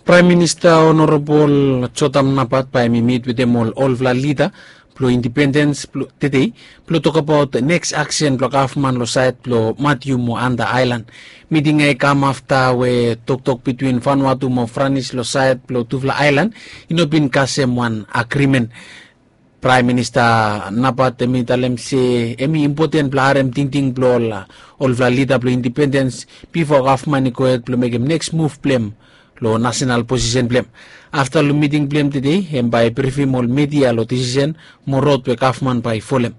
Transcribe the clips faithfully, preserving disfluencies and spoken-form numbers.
Praem Minista Onorabol Jotam Napat bae hem i mit wetem ol olfala lida blong indipendens blong tedei blong tokbaot neks aksen blong gavman long saed blong Matiu mo Anda Aelan. Miting ya i kam afta we toktok bitwin Vanuatu mo Franis long saed blong tufala aelan i no bin kasem wan agrimen. Praem Minista Napat hem i talem se hem i impoten blong harem tingting blong ol olfala lida blong indipendens bifo gavman i gohed blong mekem neks muv blong hem long nasenal posisen blong hem. Afta long miting blong hem tedei hem bae i brifim ol midia long disisen mo rod we gavman bae i folem.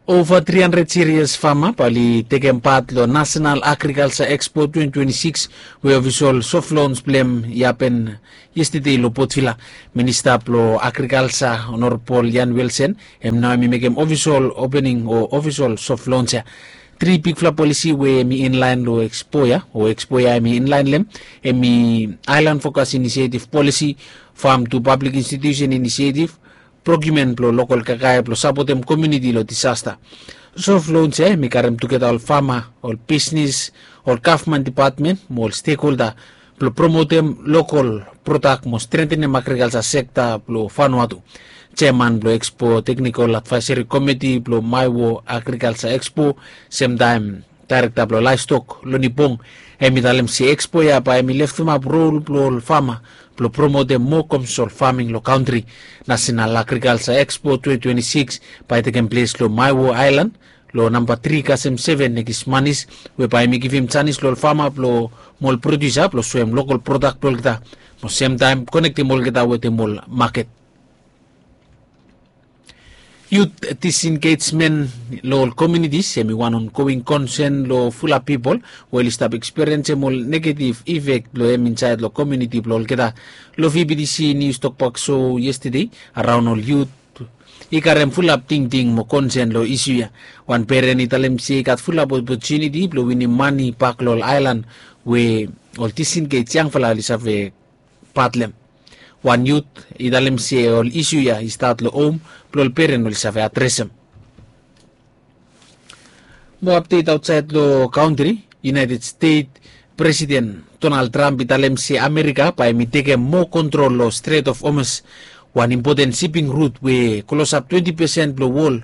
Ova tri handred sirias fama bae oli tekem pat long Nasenal Agrikalsa Ekspo twenty twenty-six we ofisol sof lons blong hem i hapen yestede long Port Vila. Minista blong Agrikalsa Onorabol Ian Wilson hem nao hem i mekem ofisol opening o ofisol sof lons ya. Tri bigfala polisi we hem i inlaen long ekspo ya o ekspo ya hem i inlaen long hem hem i Aelan Fokas Inisietiv Polisi, Fam tu Pablik Institusen Inisietiv, prokiumen blong lokol kakae blong sapotem komuniti long disasta. Sof lons ya hem i karem tugeta ol fama, ol bisnes, ol gavman dipatmen mo ol stekholda blong promotem lokol prodak mo strentenem agrikalsa sekta blong Vanuatu. Jeaman blong Ekspo Teknikol Advaeseri Komiti blong Maewo Agrikalsa Ekspo, semtaem daerekta blong laestok Loni Bong, hem i talem se ekspo ya bae hem i leftemap rol blong ol fama blong promotem moa komesol faming long kantri. Nasenal Agrikalsa Ekspo twenty twenty-six bae i tekem ples long Maewo Aelan long namba tri kasem seven Nekis Manis, we bae hem i givim janis long ol fama blong mo ol prodiusa blong soem lokol prodak blong olgeta mo semtaem konektem olgeta wetem ol maket. Yut disengejmen long ol komunitis hem i wan ongoing konsen long fulap pipol we oli stap ekspiriensem ol negetiv ifek blong hem insaed long komuniti blong olgeta. Long V B T C Nius Tokbak So yestede, araon ol yut i karem fulap tingting mo konsen long isu ya. Wan peren i talem se i gat fulap opotuniti blong winim mane bak long ol aelan we ol disengej yangfala oli save pat long hem. Wan yut i talem se ol isu ya i stat long hom blong ol peren oli save adresem. Moa apdet aotsaed long kantri. United States Presiden Donald Trump i talem se Amerika bae hem i tekem moa kontrol long Strait of Hormuz, wan impoten siping rut we klosap twenti pesen blong wol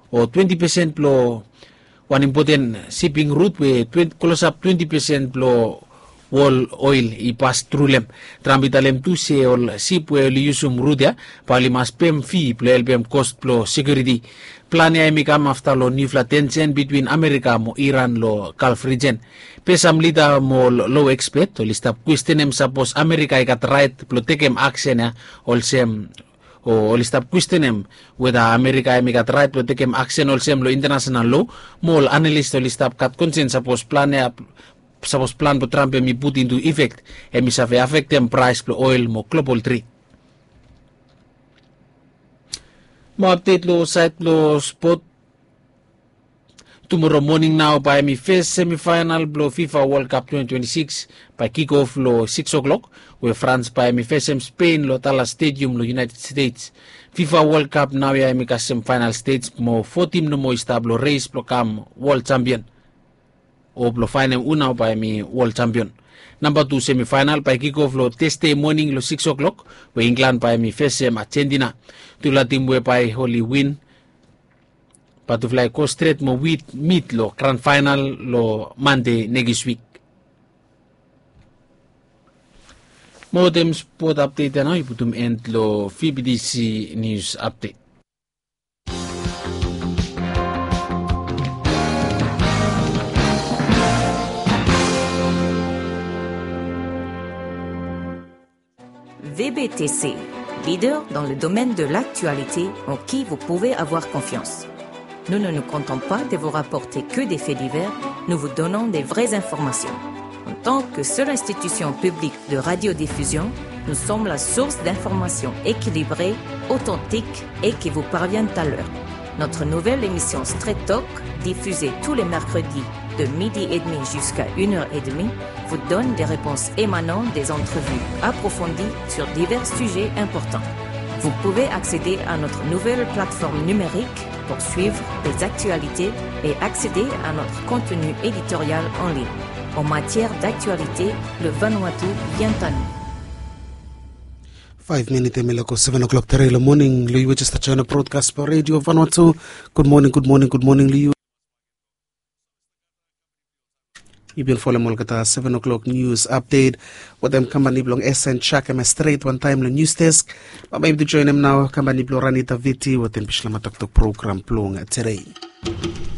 o twenti pesen blong wan impoten siping rut we klosap twenti pesen blong wol oel i pas tru long hem. Trump i talem tu se ol sip we oli yusum rut ya bae oli mas pem fi blong helpem kos blong sekiuriti. Plan ya hem i kam afta long niufala tensen bitwin Amerika mo Iran long Galf rijen. Be sam lida mo ol lo ekspet oli stap kwestenem sapos Amerika i gat raet blong tekem aksen ya olsem o oli stap kwestenem weta Amerika hem i gat raet blong tekem aksen olsem long intanasenal lo. Mo ol analis oli stap gat konsen sapos plan ya sapos plan blong Trump hem i put intu ifek hem i save afektem praes blong oel mo global tred. Mo apdet long saed blong spot. Tumora moning nao bae hem i fes semifaenal blong FIFA World Cup twenty twenty-six bae kikof long six o'clock, we Frans bae hem i fesem Spen long Dallas Stadium long United States. FIFA World Cup naoia hem i kasem faenal stej mo fo tim nomo i stap long res blong kam wol jampion o blong faenem hu nao bae hem i wol jampion. Namba tu semifaenal bae kikof long Tasde moning long six o'clock, we Inglan bae hem i fesem Ajentina. Tufala tim we bae oli win bae tufala i go stret mo wit mit long gran faenal long Mande nekis wik. Mo wetem spot apdet ya nao i putum en long V B T C Nius Apdet. V B T C, leader dans le domaine de l'actualité en qui vous pouvez avoir confiance. Nous ne nous contentons pas de vous rapporter que des faits divers, nous vous donnons des vraies informations. En tant que seule institution publique de radiodiffusion, nous sommes la source d'informations équilibrées, authentiques et qui vous parviennent à l'heure. Notre nouvelle émission Straight Talk, diffusée tous les mercredis de midi et demi jusqu'à une heure et demie, vous donne des réponses émanant des entrevues approfondies sur divers sujets importants. Vous pouvez accéder à notre nouvelle plateforme numérique Pour suivre les actualités et accéder à notre contenu éditorial en ligne. En matière d'actualité, le Vanuatu vient à nous. Faef minit em i lako seven o'clock tere long moning long yu we jes stap join broadcast blong Radio Vanuatu. Good morning, good morning, good morning long yu. Yu bin folem olgeta seven o'clock news update wetem kampani blong S N Chak em stret wantaem long news desk. Bambae yumi tu joinim nao kampani blong Ranita Viti wetem Bislama Toktok program blong tere.